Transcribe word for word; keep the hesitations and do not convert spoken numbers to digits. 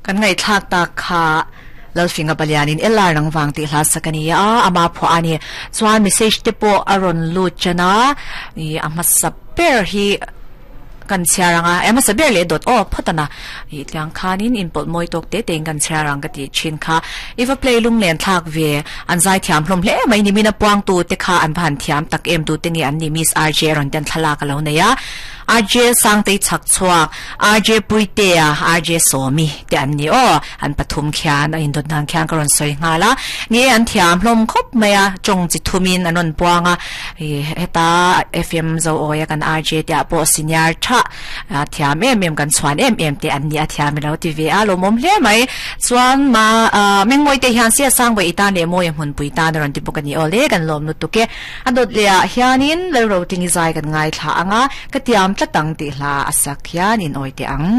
Kan ngai thlak ta kha lalfinga palianin elar nang wang ti hla sakania ama pho ani chuan message te po aron lu chana i ama saper hi kan chiaranga ema saber le dot o photana i tlang khanin in pot moi tok te teng kan chiarang ka ti chin kha iwa play lung len thak ve an zai thiam hlom hle mai ni mina puang tu te kha an phan thiam tak em tu te nge an ni miss R J ron ten thala ka lo neya R J sang te chak chuak R J Puitea R J Somi te an ni o an pathum khian a in dot nang khian ka ron soi nga la ni an thiam hlom khop maya chong chi thumin anon puanga e heta F M zo oya kan R J te po senior tha thiam em em kan chuan em em te an ni a thiam lo ti ve a lo mom hle mai chuan ma mengmoi te hian sia sang bai ita ne moi hun pui ta ron ti pukani ole kan lom nu tuke adot le hianin le ro ting zai kan ngai thla anga ka tiam tlatang ti hla asak hian in oite ang.